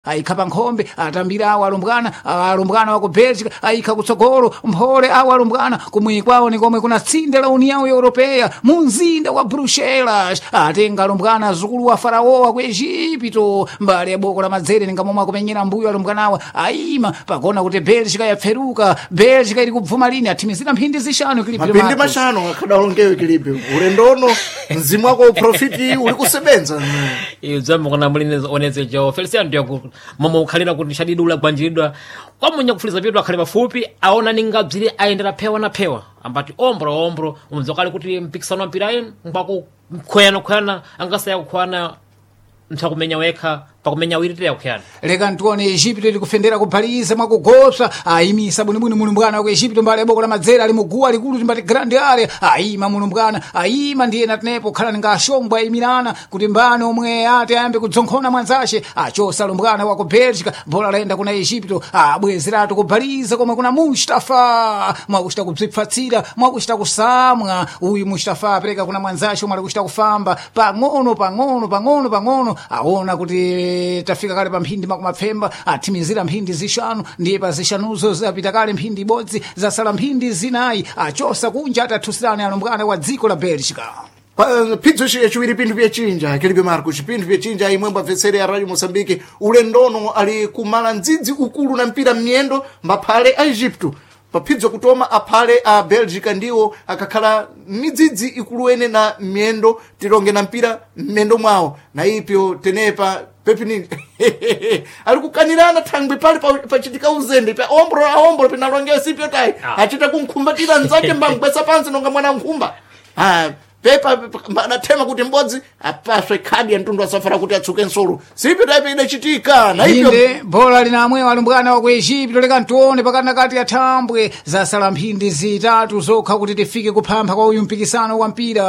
Ayikha pa nkhombe, atambira awo alumbwana, alumbwana wa ku Belgica ayikha kutsogolo mphole awo alumbwana kumwi kwawo ni komwe kuna tsinde la União Europeia mu mzinda wa Bruxelas. Atenga alumbwana azukulu wa Faraoa ku Egipto mbali ya boko la madzere ninga momwe akumenyera mbuyo alumbwanawa ayima pakona kuti Belgica yapferuka. Belgica ili kubvuma lini athimizira mphindi zishanu Mapindi Marcos. mashanu akhadalongewe kilipi ulendono mzimu wako uprofiti uli kusebenza. Idzambo kana muli onetsejo Feliciano ndiyo momwe ukhalira kuti shadidula gwanjiridwa kwamunya kufuliza pitu akhale pafupi aona ningabzire ayendera phewa na phewa ambati ombro ombro umdzokale kuti mpikisano wa mpira inu ngwaku khweyana khweyana angasaya kukhwana mtsakumenya wekha pakumenya wiri teya kukhweyana. Leka ntione Egipto ili kufendera kubhaliza mwakugopsa ayimisa bwinobwino mulumbwana wa ku Egipto mbali ya boko la madzere ali muguwa likulu timbati grand area ayima mulumbwana ayima ndiye natenepo khala ninga ashombwe ayimirana kuti mbani omwe ati ayambe kudzonkhona mwanzace achosa lumbwana wa ku Belgica bola layenda kuna Egipto abwezeratu kubhaliza komwe kuna Mustafa mwakuchita kubzipfatsira mwakuchita kusamwa uyu Mustafa apereka kuna mwanzace omwe ali kuchita kufamba pang'ono pang'ono pang'ono pang'ono aona kuti tafika kale pa mphindi makumapfemba athimizira mphindi zishanu ndiye pa zishanuzo zapita kale mphindi ibodzi zasala mphindi zinayi achosa kunja atathusirani alumbwana wa dziko la Belgica. Phidzo yaciwiri pinthu pyachinja kilipi Marcos pinthu pyachinja imwembo abvetsere ya Radio Moçambique ulendono ali kumala ndzidzi ukulu na mpira m'miyendo mbaphale a Egipto paphidzo kutoma aphale a Belgica ndiwo akakhala midzidzi ikuluene na miyendo tilonge na mpira m'miyendo mwawo na ipyo tenepa pepini ali kukanirana thangwi pali pachitika uzembe pa ombro aombro pinalongewa sipyo tayi. Ah. Achita kunkhumbatira mnzake mbamgwesa pansi nonga mwana nkhumba. Ah, pepa adathema kuti mbodzi apaswe khadi ya mtundu asafara kuti atsuke nsolo sipyo tayi idachitika na ipyo. Inde bola lina amwewo alumbwana wa ku Egipto leka ntione pakati ya thambwe zasala mphindi zitatu zokha kuti tifike kuphampha kwa uyu mpikisano wa mpira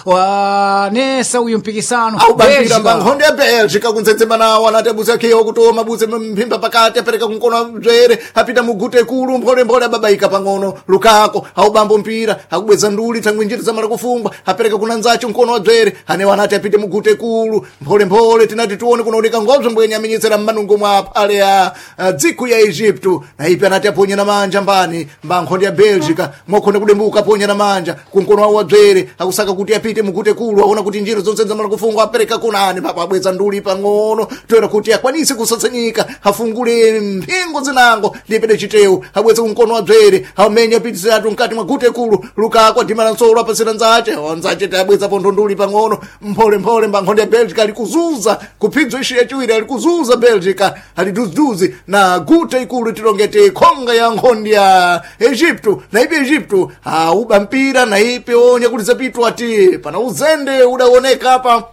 wa nesa uyu mpikisano Aubambira Belgica. mbankhondo ya Belgica kuntsetsema nawo anati abuze akhiwa kutoma abuse mphimba pakati apereka kunkono bzere apita mugute kulu mpholemphole ababaika pang'ono Lukako aubambo mpira akubweza nduli thangwi njira zamala kufungwa apereka kuna nzacho mkono wa bzere anewo anati apite mugute kulu mpholemphole tinati tione kunaoneka ngobzo mbwenye amenyetsera mmanungo mwa ale a dziko ya Egipto na ipi anati aponye na manja mbani mbankhondo ya Belgica mwakhonda kudembuka aponya na manja kunkono wawo wa bzere akusaka kuti apite mugute kulu aona kuti njira zonse zamala kufungwa apereka kunani papo abweza nduli pang'ono toera kuti akwanise kusatsanyika afungule mphingo zinango ndipede chitewu abweze kunkono wa bzere amenya apitisiratu mkati mwa gute kulu Lukako adimana nsolo apasira nzache onzache tabweza pontho nduli pang'ono mpholemphole mbankhondo ya Belgica ali kuzuza kuphidzo ishi yachiwiri ali kuzuza Belgica ali duziduzi na gute ikulu tilongete khonga ya nkhondo ya Egipto na ipi Egipto auba mpira na ipi onya kuti zapitwa ati pana uzende udaoneka apa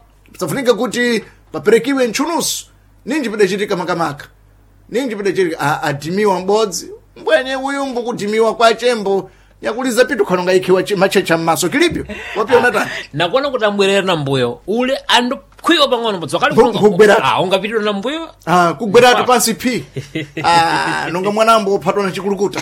safunika kuti paperekiwe ntchunusu ninji pidachitika makamaka ninji pidachitika adimiwa m'bodzi mbwenye uyumbu kudimiwa kwa chembo nyakuliza pitu khanonga ikhiwa machecha m'maso kilipyo wapiona tani. Nakuona kuti ambwerera na mbuyo ule andokhwiwa pang'ono mbodzokale Nkugweratu. ungapitidwa na mbuyo. Ah, kugweratu pansi phi. Ah, nonga mwanambo uphatwa na chikulukuta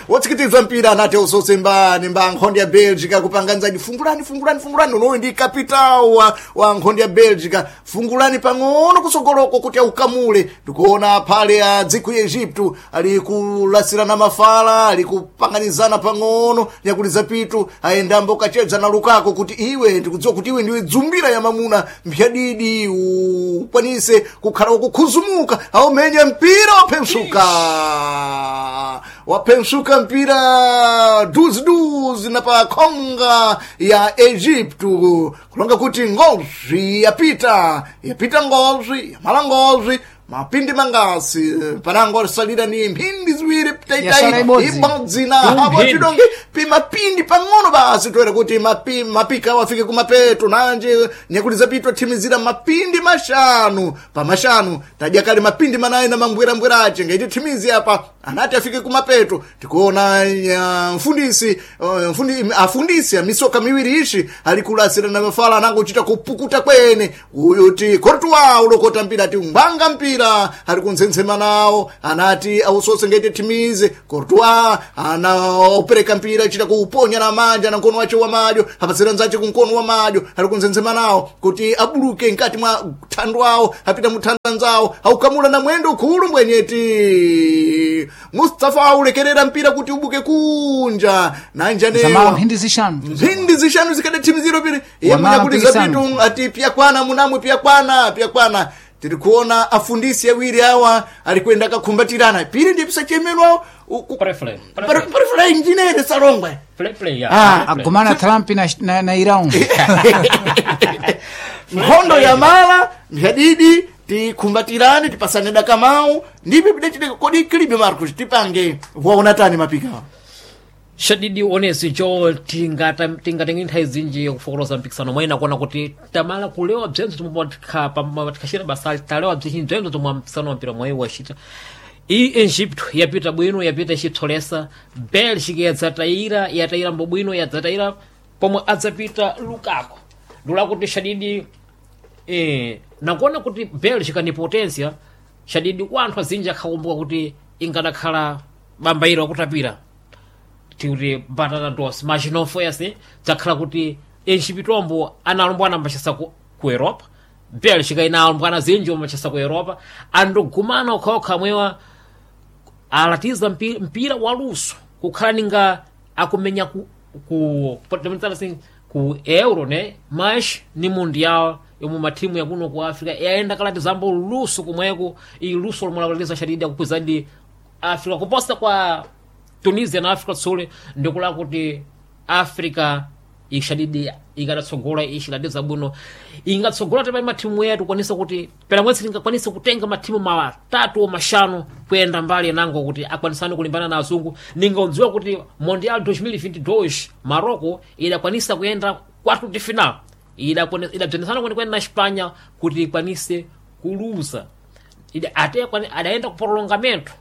wotsikitizwa mpira anati usose mbani mba nkhondo ya Belgica kupanga nzadi fungulani fungulani fungulani unoyu ndi kapitawo wa nkhondo ya Belgica fungulani pang'ono kusogoloko kuti aukamule ndikuona phale a dziko ya Egipto ali kulasirana mafala ali kupanganizana pang'ono nyakuliza pitu ayendambo kachedza na Lukako kuti iwe ndikudziwa kuti iwe ndiwe dzumbira ya mamuna mphyadidi ukwanise kukhala wakukhuzumuka aumenya mpira waphensuka waphensuka mpira duziduzi na pa khonga ya Egipto kulonga kuti ngozwi yapita yapita ngozwi yamala ngozwi mapindi mangasi panango alisalira ni mphindi ziwiri Yasala taitai ibodzi. ibodzi na hapo Mphindi. chidonge pimapindi pang'ono basi toera kuti mapika wafike kumapeto nanje nyakuti zapitwa thimizira mapindi mashanu pamashanu tadya kale mapindi manayi na mambwerambwerace ngaiti thimizi apa. Anati afike kumapeto tikuona mfundisi afundisi amisoka miwiri ishi alikulasira na mafala anangochita kupukuta kwene uyu ti Courtois ulokota mpira ati ngwanga mpira ali kunzenzema nawo anati ausose ngete timize Courtois anaopereka mpira achita kuuponya na manja na mkono wache wa madyo apasira nzache kumkono wa madyo ali kunzenzema nawo kuti abuluke nkati mwa thandu awo apita muthandu anzawo aukamula na mwendo khulu mbwenyeti Mustafa aulekerera mpira kuti ubuke kunja Zamala nanjanewa mphindi zishanu mphindi zishanu zikade timu ziro pili iye Wamala munyakuliza mpikisano. pitu ati pyakwana munamwe pyakwana pyakwana tiri kuona afundisi awiri awa alikwenda akakhumbatirana pili ndi pisachemerwa Prefle, parifula injinere salongwe Play, play, ya. Ah, Play, play. agumana Trump na Iran. nkhondo ya mala mphadidi tikhumbatirane tipasane dakamau ndipi pidachiteka kodi kilibe Marcos tipange waona tani mapikawa Shadidi onesi cho tingatenge nthawi zinji kufokoloza mpikisano mwene akuona kuti tamala kulewa bzenzo tomwe basali talewa bzinji bzenzo tomwe mpikisano wa mpira mwayi wachita iyi Egypto yapita bwino yapita ichitsolesa Belgium yadzatayira yatayira mbobwino yadzatayira pomwe adzapita Lukaku ndulakuti Shadidi nakuona kuti Belgium ni potensia Shadidi wanthu azinji akhakumbuka kuti ingadakhala bambairo akutapira tikuti batata dos machinofo yase dzakhala kuti Egiptombo analombwana ambachasa ku Europa Belgium ina alombwana zinji ambachasa ku Europa andogumana okhaokha mwewa alatiza mpira waluso kukhala ninga akumenya ku Euro ne mas ni Mundial yomwe mathimu yakuno ku Africa yayenda kalatizambo luso kumweko iyi luso lomwe lakulatiza Shadidi akukwizadi Africa kuposa kwa Tunisia na Africa Tsule ndikula kuti Africa ishadidi ingatsogola ishilatiza bwino ingatsogola tepa mathimu yetu kwanisa kuti pera mwezi tingakwanisa kutenga mathimu matatu o mashanu kuyenda mbali yanango kuti akwanisane kulimbana na azungu ningadziwa kuti Mondial 2022 Morocco idakwanisa kuyenda quarto de final idabzenesana kwenikweni na Espanha kuti ikwanise kuluza ate adaenda ku prolongamento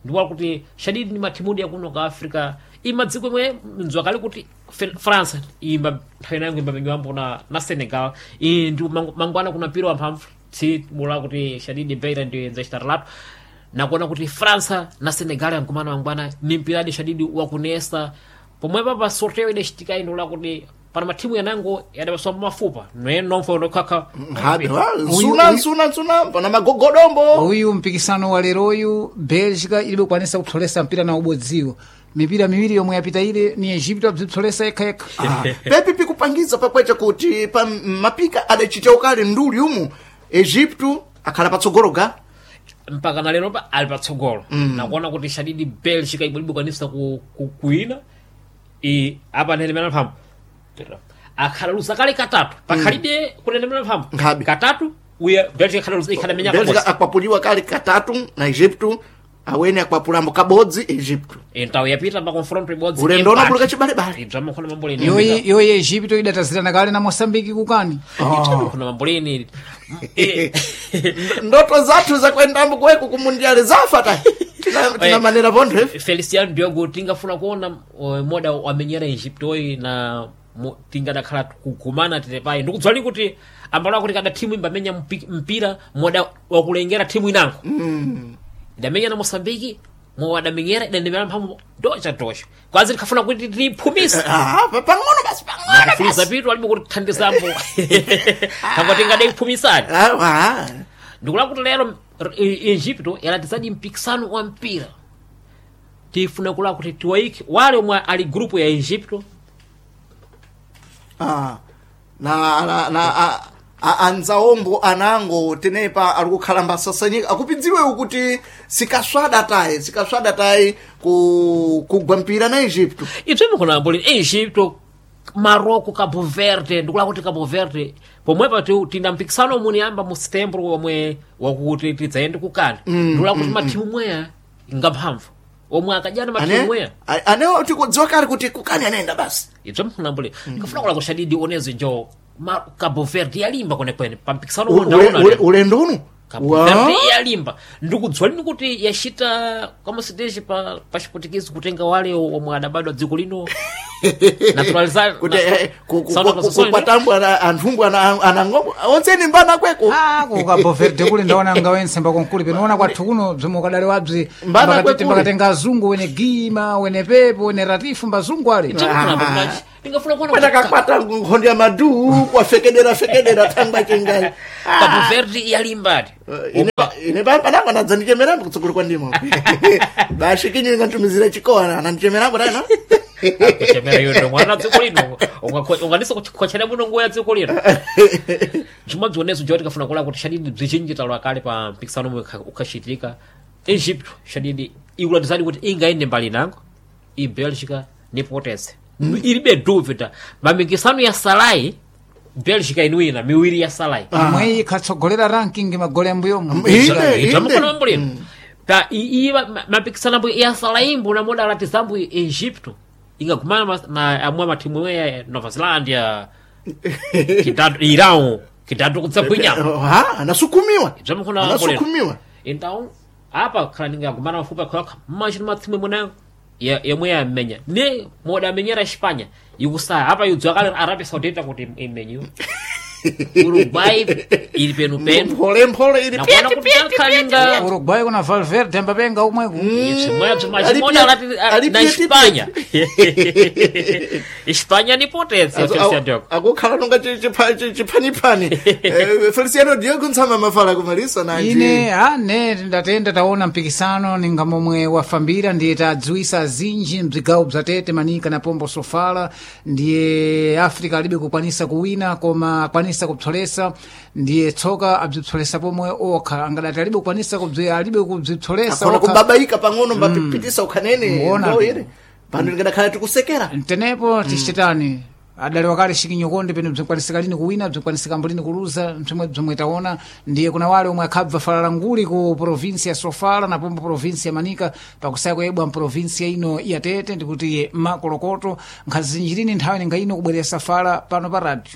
ndiwala kuti Shadidi ni mathimudi yakuno ka Africa imadziko imwe mdzwakali kuti France imba nthawi inayo imba minyambo na Senegal iyi ndi mangwana kuna mpira wamphamvu tsi mula kuti Shadidi Beira ndi nzachitatu nakuona kuti France na Senegal yankumana mangwana ni mpiradi Shadidi wakunesa pomwepa pa sorteo idachitika ino la kuti pana mathimu yanango yadapaswa mafupa nomfo nokhakha Habe, wa, nsuna nsuna nsuna pana magogodombo Uyu mpikisano wa leroyu Belgica ilibe kukwanisa kupsolesa mpira na ubodziwo mipira miwiri yomwe yapita ile ni Egypto abzipsolesa yekha yekha. Pepi pikupangiza pakwecha kuti pa mapika adachita ukale nduli umu Egipto akhala patsogolo ga mpaka na lero pa ali patsogolo nakuona kuti Shadidi Belgica ibwelibe kwanisa kuina i apa nhenemera mphamvu akhala luza kale katatu pakhalibe kunenemera mphamvu Nkhabe. katatu uya Belgica ikhala luza ikhala menya Belgica kabodzi akwapuliwa kale katatu na Egipto awene akwapulambo kabodzi Egipto entawo yapita pa confronto ibodzi ulendo unapuluka chibalebale idzama khona mamboleni Yoyi Egypto idatazirana kale na Mosambiki kukani. khona mamboleni ndoto zathu zakuendambo kuweku kumundiale zafa ta tina manera pontho ife Feliciano Diogo tingafuna kuona moda wamenyera Egyptoyi na tingadakhala kugumana tetepayi ndikudzwali kuti ambalo kuti kada timu imbamenya mpira moda wakulengera timu inango idamenya na Mosambiki mowadamenyera idandemera mphamvu docha docha kwazi tikhafuna kuti tiphumise Ah, pang'ono basi pang'ono kufuliza pitu alibe kuti thandizambo tango tingadayiphumisani Ah, ah. ndikula kuti lero Egypto yalatizadi mpikisano wa mpira tifuna kula kuti tiwaike wale omwe ali grupu ya Egypto Ah, na na na anzaombo anango tenepa ari kukhala mbasasanyika akupidziwewo kuti sikaswada tayi sikaswada tayi kugwa mpira na Egipto ibzomwe kuna mbuli Egypto Marocco Cabo Verde ndikula kuti Cabo Verde pomwepa tina mpikisano omwe uniyamba mu setembro omwe wakuti tidzayende kukani ndikula kuti mathimu mweya ngamphamvu omwe akadyana mathimu mweya anewo tikudziwa kale kuti kukani anayenda basi ibzo mkhunambule ndikafuna kula kushadidi onezi njo Cabo Verde yalimba kwenekwene pa mpikisano Ule- ndaona ulendo uno Cabo Wa? Verde yalimba ndikudziwa lini kuti yachita kama siteji pa chiputikezi kutenga wale omwe adabadwa dziko lino naturalizar Kuti kukwatambwa anthumbwe anangombo onse mbana kweko. Ah, ku Cabo Verde kuli ndaona ngawense mbakonkuli penoona kwathu kuno bzomwe ukadali wabzi Mbana kwekule. mbakatenga azungu wene gima wene pepo wene ratifu mbazungu ali. Ndingafuna kuona kuti Kwatakakwata nkhondo ya madu kwafekedera fekedera thangwa chengai. Cabo Verde yalimbati. Ine panango anadzandichemerambo kutsogolo kwa ndimo bashikinyo ingantumizira chikowa anandichemerambo tana. Kuchemera yondo mwana dziko lino unganisa kuchera muno nguwa ya dziko lino chimadzioneso joti kafuna kula kuti shadidi bzichinji talwa kale pa mpikisano omwe ukhachitika Egypt shadidi ikulatizani kuti ingaende mbali nango i Belgica ni Potence ilibe dúvida mamikisano ya salai Belgica inuina miwiri ya salai. Imwe ikhatsogolera ranking magole ambuyomu. Inde, inde. Tamukona mambo lino pa iyi mapikisano ambo ya salai mbo namoda alatizambo Egypto ingagumana na amwe mathimu ya Nova Zelândia kitatu Irão kitatu kutsabwinyamo. Ha, anasukumiwa. Zvamukona mambo lino. Anasukumiwa. Então apa khala ningagumana mafupi akhoyakha mmachino mathimu imwe yemwe yamenya ne moda amenyera Espanha ikusaya apa yudziwa kale Arabia Saudita kuti imenyiwe Uruguay ili penu penu. Mphole mphole ili. Nakuona kuti akhalinga Uruguay kuna Valverde ambapenga umweku. na Espanha Espanha ni potência Feliciano Diogo. Akukhala nonga chiphanyiphani. Feliciano Diogo ntsama mafala kumalisa nanji. Ine ane ndatenda taona mpikisano ninga momwe wafambira ndiye tadziwisa zinji mzigawo bza Tete Manika na Pombo Sofala ndiye Africa alibe kukwanisa kuwina koma akwanisa kupsolesa ndiye tsoka abzipsolesa pomwe okha angadati alibe kukwanisa alibe kubzipsolesa Akona okha. kubabaika pang'ono mbapipitisa ukhanene Muona. ndo ere pano ndingadakhala tikusekera. Ntenepo tichitani adali wakale shikinyokonde pene bzinkwanisika lini kuwina bzinkwanisika lini kuluza mchomwe bzomwe taona ndiye kuna wale omwe akhabva falala nguli ku provinsi ya Sofala na pombo provinsi ya Manika pakusaya kuyebwa mprovinsi ino ya Tete ndikuti makolokoto nkhazinjirini nthawi ninga ino kubwerera fala pano pa radio.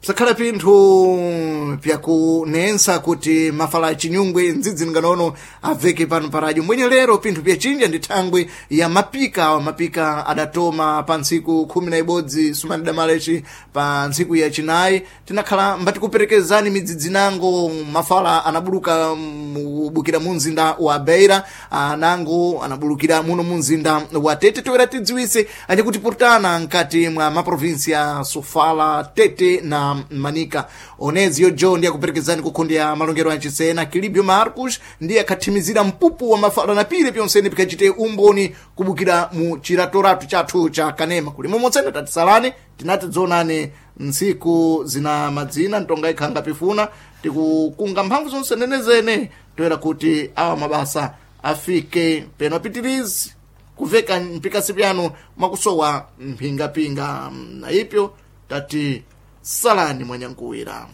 Psakhala pinthu pyakunensa kuti mafala achinyungwe ndzidzi nganono abveke pano pa radio mbwenye lero pinthu pyachinja ndi thangwe ya mapika awa mapika adatoma pa ntsiku 11 sumanidamalechi pa ntsiku ya chinayi tinakhala mbatikuperekezani midzidzi nango mafala anabuluka mubukira mu mzinda wa Beira anango anabulukira muno mu mzinda wa Tete toera tidziwise anyakutipurtana nkati mwa maprovinsi ya Sofala Tete na Manika onezi yojo ndiye akuperekezani kukhundi ya malongero a Chisena Kilibio Marcus ndiye akhathimizira mpupu wa mafala na pile pyonsene pikachite umboni kubukira mu chiratoratu chathu cha Kanema kuli momotsene tatisalani tinati dzonane ntsiku zina madzina ntonga ikhanga pifuna tikukunga mphamvu zonse nenezene toera kuti awa mabasa afike peno apitirizi kuveka mpikasi pyanu mwakusowa mphingapinga na ipyo tati salani mwanyankuwira.